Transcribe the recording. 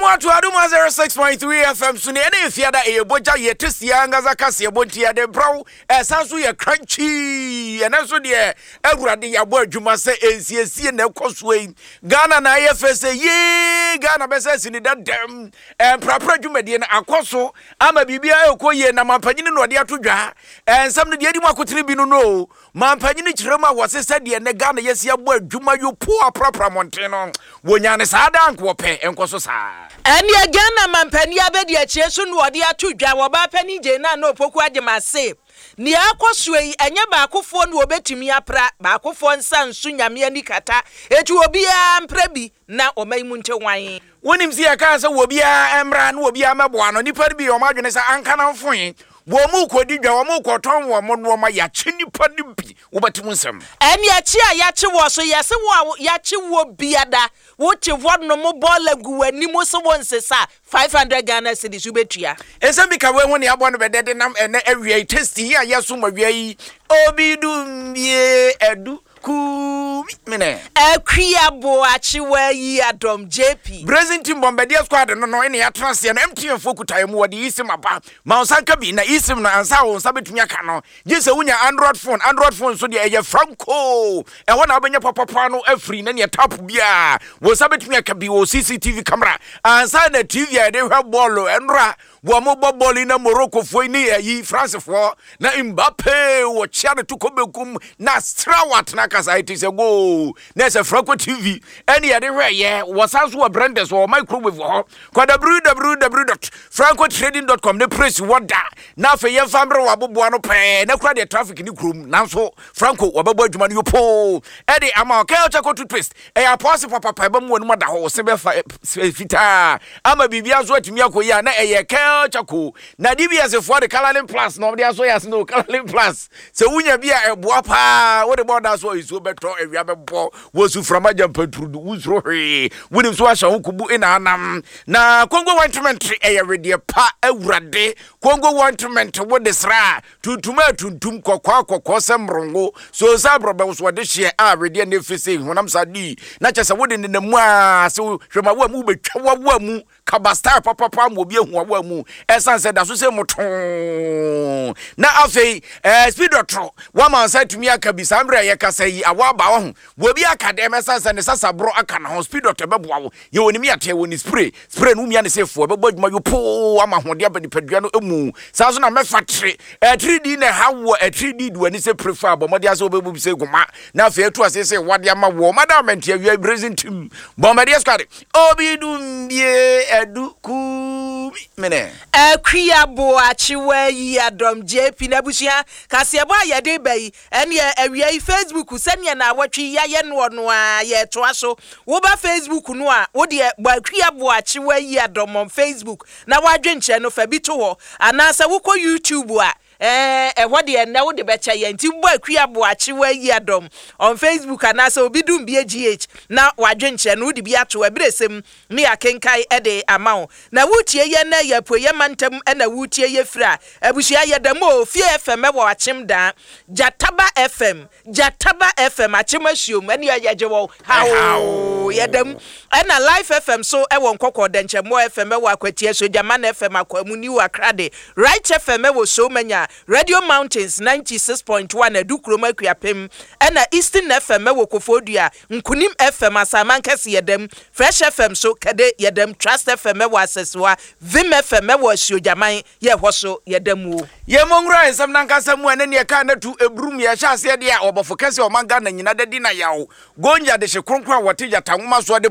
Yɛma mo ato Adom 106.3 FM so ne ɛne efiada ɛyɛ bogya yɛ tasty ankasa kaseɛbɔ nti yɛde brɛ wo. Ɛsan so yɛ crunchy. Ɛnɛ nso deɛ Awurade yɛabɔ adwuma sɛ nsiesie na ɛkɔ soɔ yi. Ghana na ayɛ fɛ sɛ yee Ghana bɛsɛ asi ne dadam. Mprapra dwumadie no akɔ so ama biribiara ɛrekɔ yie na mampanyini na ɔde ato dwa. Nsɛm no deɛ ɛdi mu akotene bi no no o. Mampanyini kyerɛ mu a wɔse sɛdeɛ nnɛ Ghana yɛasi abɔ adwuma yopoo aprapra mmɔnten no, wɔnyaa no saa daa anka wɔpɛ ɛnkɔ so saa. Ɛnneɛ Ghana mampanin abadiakyire so na ɔde ato dwa, Ɔbaa Panin Jane Nana Opoku Agyemang se, Nea ɛrekɔ soɔ yi, ɛnyɛ baakofoɔ na wɔbɛtumi apra, baakofoɔ nsa nso Nyame ani kata, enti obiara mpra bi na ɔman yi mu nte hwan. Wonim sɛ yɛkaa sɛ obiara mmra na obiara mmɛboa no, nnipa no bi yɛ wɔn adwene sɛ anka na mfoe, wɔrekɔdi dwa, wɔrekɔtɔn wɔn nnoɔma, yɛakye nnipa no bi, wobɛte mu nsɛm. Ɛnneɛ kye a yɛakye woɔ so, yɛse wo a yɛakye woɔ biada, wote hɔ nom bɔɔla gu w'anim se wonsesa a, 500 Ghana cedis wobɛtua. Nsɛm bi ka wei ho nea abɔ no bɛdɛ denam ɛnɛ awia yi tasty yi a yɛsom awia yi obi dumbie adu kumi mene. Akua Boakye Wayi Adom JP. Brazen Team Bombardier Squad no no ɛna yɛatena aseɛ no MTN foɔ kuta yɛn mu wɔde eSIM aba ma wo nsa nka bi na eSIM no ansa a wo nsa bɛtumi aka no gye sɛ wonya Android phone Android phone nso deɛ ɛyɛ franco ɛhɔ na wobɛnya papapa no afiri na neɛ tap biara wo nsa bɛtumi aka bi wɔ CCTV camera ansa na TV a yɛde hwɛ bɔɔlo ɛnora Wɔn bɔ bɔɔl yi na Morocco foɔ yi ne ayi France foɔ na Mbappe wɔkyea ne to kɔ benkum na sra watena kasa ɛte sɛ goal na ɛsɛ Franco TV ɛne yɛde hwɛ yɛ wɔsan so wɔ Brendes wɔ microwave wɔ hɔ kɔ www.francotrading.com ne press wɔ da na afei yɛmfa mmerɛ wɔ aboboa no pɛɛ na kura deɛ traffic ne kurom nanso Franco wɔbɛbɔ adwuma no yopoo ɛde ama ɔkɛ ɔkyɛ kɔ toothpaste Ɛyɛ apɔɔse papapa, ɛbɛma w'anim ada hɔ, wo se bɛfa fitaa ama biribiara nso atumi akɔ yie a na ɛyɛ kel charcoal. Na DBS foɔ de Colourlin Plus na wɔde asɔ yɛ ase no, Colourlin Plus. Sɛ wonya bi a ɛboa paa, wode bɔ ɔda so a nsuo bɛtɔ, awia bɛbɔ, wɔsu frama gya mpaturudu, wonsuro hwee, wonim so ahyɛ ho kubu na anam. Na Congo ointment ɛyɛ wedeɛ pa, awurade, Congo ointment wode sra a, Tuntum a tuntum, kɔkɔɔ a kɔkɔɔ sɛ mmorɔngo, so sɛ aborɔbɛ wo so ɔde hyeɛ a wedeɛ ne efe sei honam saa dii na kyɛ sɛ wode nenam mu a sɛ hwɛ ma woa mu wobɛtwa wawoa mu kaba style papapa ma obi ahu wawoa mu ɛsan sɛ da so sɛ motoo na afei ɛɛ speed ɔtoro wama nsa atumi aka bi saa mmerɛ a yɛkasa yi awɔ aba wɔ ho wɔ bi aka dɛm ɛsan sɛ ne sasaborɔ aka ne ho speed ɔtɔ ɛbɛboa wo Yɛ wɔ ne mi atɛ wɔ ne spray spray no womia ne sɛ fo ɛbɛbɔ adwuma yopoo ama ahoɔden aba nipadua no mu saa nso na mɛfa tere atiridii na ɛha wɔ atiridii di w'ani sɛ pere fa bɔ mmɔden asɛ wobɛbu bi sɛ goma na afei atu ase sɛ wade ama wɔ madam mɛnti awia brazen team bɔmmɔdeɛ squad obi dumbie adu kumi mene. Akua Boakye Wayi Adom JP N'abusua kaseɛbɔ a yɛde reba yi Ɛneɛ awia yi Facebook sɛdeɛ naawɔtwe yi yayɛ noɔ no ara yɛretoa so. Woba Facebook no a wodeɛ bɔ Akua Boakye Wayi Adom on Facebook na w'adwenkyerɛ no fa bi to hɔ. Anaasɛ wokɔ YouTube a ɛɛ ɛhɔ deɛ nnɛ wode bɛkyɛ yɛn nti bɔ Akua Boakye Wayi Adom on Facebook anaasɛ Obi Dumbie GH na w'adwenkyerɛ no wode bi ato ɛberɛsɛm ne yɛakenkan de ama wo. Na woretie yɛn nnɛ yɛ apueɛ mantam na woretie yɛ firi a, abusua yɛda mu o, Fie FM wɔ Akyem Daa, Gyataba FM, Gyataba FM, Akyem Asuom, ɛne yɛgye wɔ haoo, yɛda mu. Ɛna Life FM so wɔ Nkɔkɔɔ, Dɛnkyɛmmoɔ FM wɔ Akwatia, Sogyaman FM, Akwamu, New Akrade, Right FM wɔ Somanya, Radio Mountains 96.1 Adukurom Akuapem, ɛna Eastern FM wɔ Kofoɔdua, Nkunim FM, Asaman Kɛse yɛda mu, Fresh FM so kɛde yɛda mu, Trust FM wɔ Asɛsewa, Vim FM wɔ Asuogyaman yɛ hɔ so yɛda mu o. Yɛn mo nwura nsɛm no ankasa mu ɛne neɛ kaa no atu ɛburum yɛhyɛ aseɛ deɛ a ɔbɔfo kɛseɛ ɔman Ghana nyina da di na yaw Gonja dehye kronkron a wɔte gyata nwoma soɔ de.